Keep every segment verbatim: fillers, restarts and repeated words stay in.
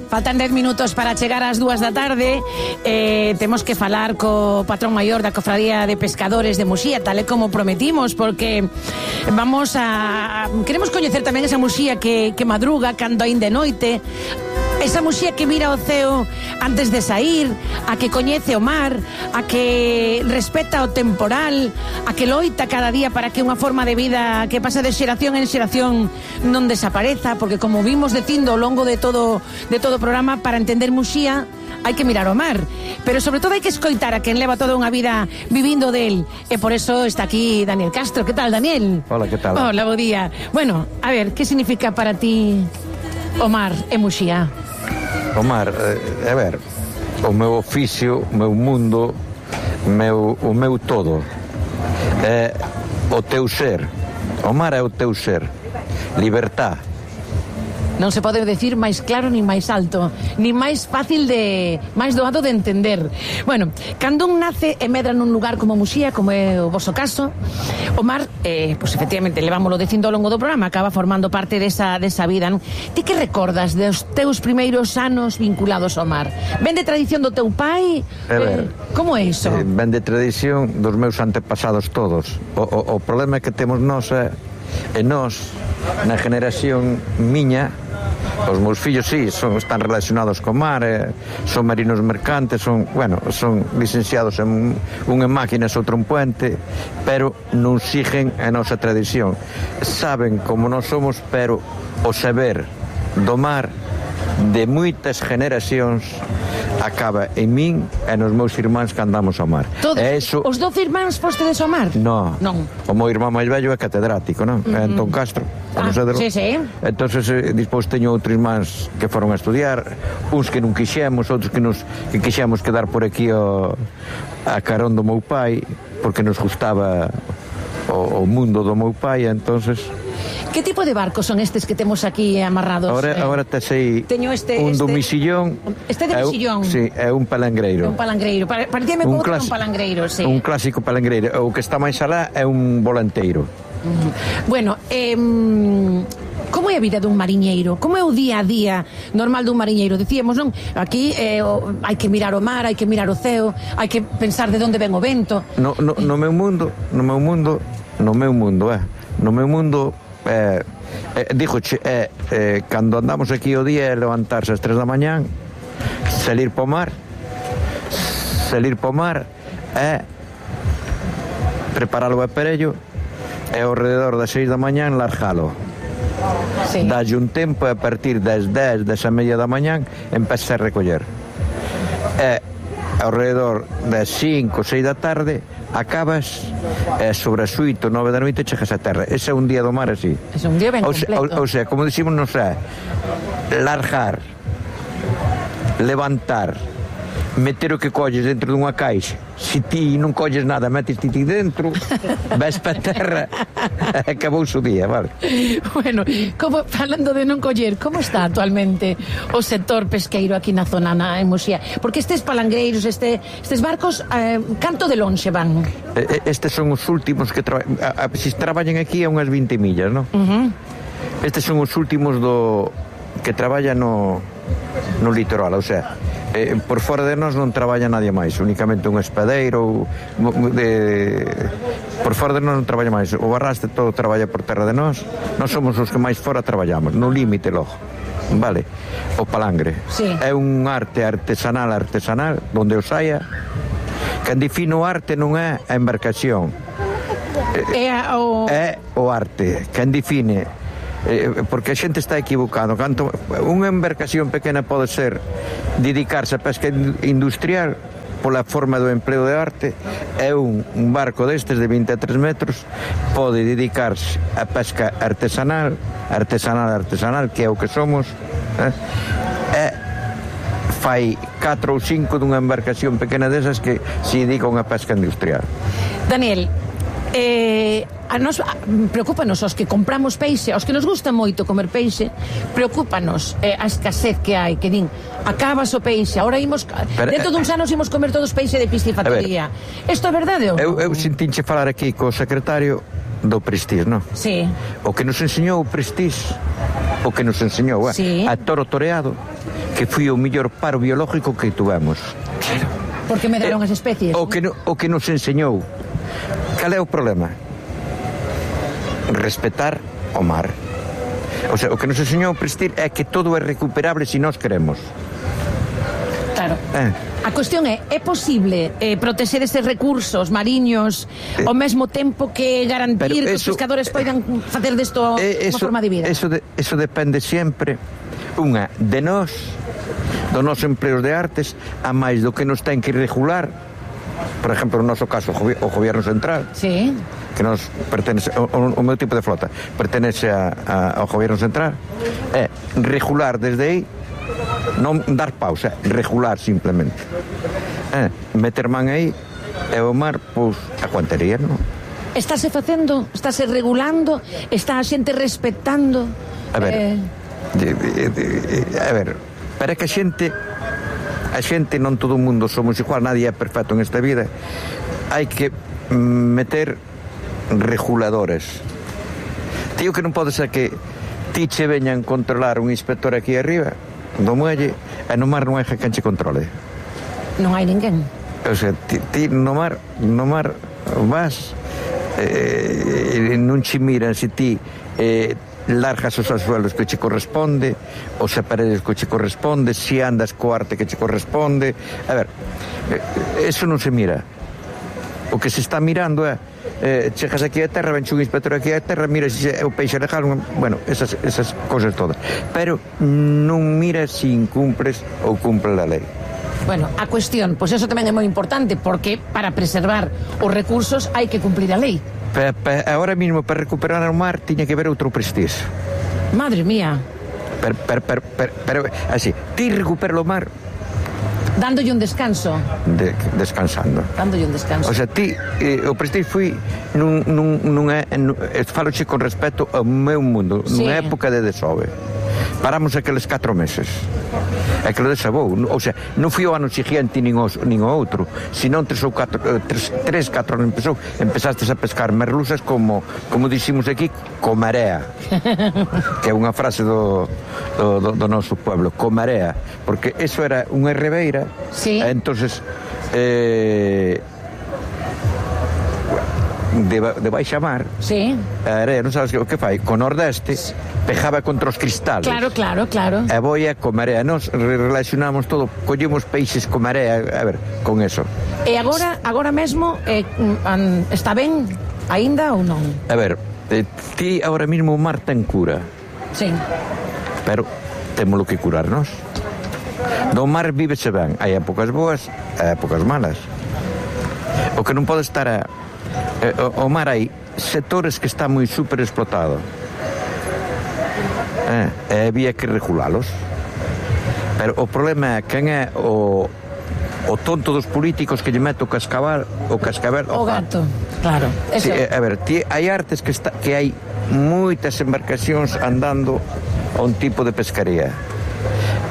Faltan dez minutos para chegar ás dúas da tarde. eh, Temos que falar co patrón maior da Cofradía de Pescadores de Muxía, tal e como prometimos, porque vamos a... Queremos coñecer tamén esa Muxía que, que madruga cando aínda é noite, esa Muxía que mira o ceo antes de sair, a que coñece o mar, a que respeta o temporal, a que loita cada día para que unha forma de vida que pasa de xeración en xeración non desapareza, porque como vimos dicindo ao longo de todo de todo o programa, para entender Muxía hai que mirar o mar, pero sobre todo hai que escoitar a quen leva toda unha vida vivindo del, e por eso está aquí Daniel Castro. Que tal, Daniel? Hola, que tal? Hola, bo día. Bueno, a ver, que significa para ti o mar e Muxía? O mar, eh, a ver, o meu oficio, o meu mundo, meu, o meu todo, é o teu ser. O mar é o teu ser. Libertad. Non se pode decir máis claro nin máis alto, nin máis fácil de... máis doado de entender. Bueno, cando un nace e medra nun lugar como Muxía, como é o voso caso, o mar, eh, pois efectivamente, levámoslo dicindo ao longo do programa, acaba formando parte desa, desa vida, non? Ti que recordas dos teus primeiros anos vinculados ao mar? Ven de tradición do teu pai? A ver, eh, como é iso? Eh, ven de tradición dos meus antepasados todos. O, o, o problema que temos nós é, e nós, na generación miña, os meus fillos, sí, son, están relacionados co mar, eh, son marinos mercantes, son, bueno, son licenciados en un en máquinas, outro en puente, pero non siguen a nosa tradición. Saben como nós somos, pero o saber do mar de moitas generacións acaba en min e nos meus irmáns que andamos ao mar. Todos, e eso... os doce irmáns fostedes ao mar? No, non. O meu irmán máis vello é catedrático, non? Uh-huh. É Antón Castro. Ah, sí, sí. Entonces, eh, despois teño outros irmáns que foron a estudiar, uns que non quixemos, outros que nos que quixemos quedar por aquí o, a carón do meu pai, porque nos gustaba o, o mundo do meu pai, entonces... Que tipo de barcos son estes que temos aquí amarrados? Ahora, eh, ahora te sei teño este, un este, do misillón. Este de misillón? Sí, é un palangreiro. Un palangreiro. Parecíame un, clas... un palangreiro, sí. Un clásico palangreiro. O que está máis alá é un volanteiro. Uh-huh. Bueno, eh, como é a vida dun mariñeiro? Como é o día a día normal dun mariñeiro? Dicíamos, non? Aquí eh, o, hai que mirar o mar, hai que mirar o ceo, hai que pensar de onde ven o vento. No, no, no meu mundo, no meu mundo, no meu mundo, eh. No meu mundo... Eh, eh, dígoche, eh, eh, cando andamos aquí o día é levantarse ás tres da mañán, salir po mar, salir po mar e preparar o aparello e ao rededor das seis da mañán largalo. Sí. Dalle un tempo e a partir das dez, desa media da mañán empeza a recoller. E ao rededor das cinco, seis da tarde acabas e sobre as oito, nove da noite chegas a terra. Ese é un día do mar así. É un día ben completo. O, o sea, como decimos, non sei, largar, levantar, meter o que colles dentro dunha caixa. Se ti non colles nada, metes ti dentro, vais para a terra, acabou o día, vale? Bueno, como, falando de non coller, como está actualmente o sector pesqueiro aquí na zona, na, en Muxía? Porque estes palangreiros, este, estes barcos, eh, canto de lonxe van? Estes son os últimos que traballan, se traballan aquí a unhas vinte millas, non? Uh-huh. Estes son os últimos do que traballan no, no litoral, ou sea, eh, por fora de nós non traballa nadie máis, únicamente un espadeiro de... por fora de nós non traballa máis, o Barraste todo traballa por terra de nós, nós somos os que máis fora traballamos, no límite logo, vale? O palangre, sí. É un arte artesanal artesanal, donde o saia, que define o arte non é a embarcación, é o, é o arte, que define. Eh, porque a xente está equivocado. Canto unha embarcación pequena pode ser dedicarse a pesca industrial pola forma do empleo de arte, é un, un barco destes de vinte e tres metros pode dedicarse a pesca artesanal artesanal, artesanal, que é o que somos, eh? E fai catro ou cinco dunha embarcación pequena desas que se dedican a pesca industrial. Daniel, eh, a nos preocúpanos os que compramos peixe, os que nos gusta moito comer peixe, preocúpanos eh, a escasez que hai, que din, acabas o peixe, ahora imos, pero, dentro duns anos imos comer todos peixe de piscifactoría. Isto é verdade ou non? Eu, eu sentinche falar aquí co secretario do Prestige, non? Sí. O que nos enseñou o Prestige, o que nos enseñou, eh? Sí. A toro toreado, que foi o mellor paro biológico que tuvemos. Porque medraron as especies. O que, no, o que nos enseñou. Cal é o problema? Respetar o mar. O sea, o que nos enseñou Prestige é que todo é recuperable se nós queremos. Claro. Eh. A cuestión é, é posible eh, proteger estes recursos mariños eh, ao mesmo tempo que garantir que os pescadores poidan facer desto eh, unha forma de vida? Eso, de, eso depende sempre, unha, de nós, do noso empleo de artes, a máis do que nos ten que regular, por exemplo, no noso caso, o Gobierno Central, sí, que nos pertenece, o, o meu tipo de flota pertenece a, a, ao Gobierno Central, é regular desde aí, non dar pausa, regular simplemente, é meter man aí, e o mar, pois, aguantaría, non? Estáse facendo, estáse regulando, está a xente respetando. A ver, eh... de, de, de, a ver, para que a xente, a xente non todo o mundo somos igual, nadie é perfecto en esta vida, hai que meter reguladores. Tío, que non pode ser que ti che veñan controlar un inspector aquí arriba do muelle e no mar non hai quen che controle. Non hai ninguén. O sea, ti, ti no mar no mar vas eh, non che miran se ti eh, largas os suelos que che corresponde, os aparellos que che corresponde, se andas co arte que che corresponde. A ver, eso non se mira. O que se está mirando é eh, chegas aquí a terra, venche un inspector aquí a terra, mira se é o peixe legal, bueno, esas, esas cosas todas, pero non mira se incumpres ou cumple a lei. Bueno, a cuestión, pois pues eso tamén é moi importante, porque para preservar os recursos hai que cumplir a lei. Pa, pa, ahora mismo, para recuperar o mar, tiña que haber outro Prestige. Madre mía. Pero, pero, pero, pero, pero así, ti recupera o mar dándolle un descanso. De, descansando. Dándolle un descanso. O sea, ti, eh, o Prestige foi nun, nun, nunha, nun, faloche con respecto ao meu mundo, sí, nunha época de desove. Paramos aqueles catro meses. Aquilo desabou. O sea, non foi o ano siguiente nin o, nin o outro, senón tres ou catro, tres, tres, catro anos empezou, empezastes a pescar merluzas como, como diximos aquí, co marea. Que é unha frase do, do, do, do noso pueblo, co marea. Porque eso era unha ribeira, sí, e entonces eh, de, de baixa mar, sí, a area, non sabes o que fai, co nordeste, pejaba contra os cristales. Claro, claro, claro. E boia co marea. Nos relacionamos todo, collemos peixes co marea, a ver, con eso. E agora, agora mesmo, eh, está ben aínda ou non? A ver, eh, ti agora mesmo o mar ten cura. Sí. Pero témolo que curarnos. Do mar vívese ben. Hai épocas boas e épocas malas. O que non pode estar a... Eh, o, o mar hai sectores que están moi super explotados. Eh, e había que regulalos. Pero o problema é quen é o, o tonto dos políticos que lle mete o cascabel o cascabel o gato, claro. Sí, a ver, tí, hai artes que, está, que hai moitas embarcacións andando a un tipo de pescaría,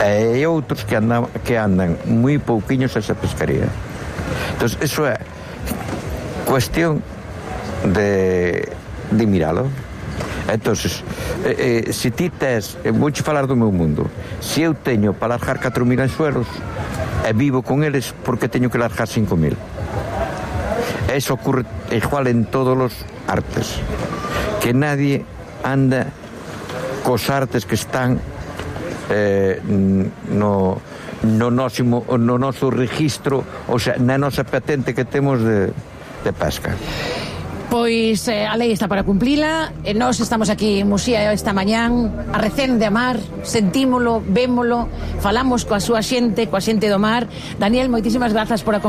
e hai outros que andan, que andan moi pouquiños a esa pescaría. Entón, eso é cuestión de, de miralo. Entonces, eh, eh, se ti tes, eh, vouche falar do meu mundo, se eu teño para largar catro mil anzuelos e vivo con eles, porque teño que largar cinco mil? Eso ocurre igual en todos os artes, que nadie anda cos artes que están eh, no, no, noso, no noso registro, o sea, na nosa patente que temos de, de pesca. Pois eh, a lei está para cumplila, e nós estamos aquí en Muxía esta mañán a recén de amar, sentímolo, vémolo, falamos coa súa xente, coa xente do mar. Daniel, moitísimas grazas por acompañarnos.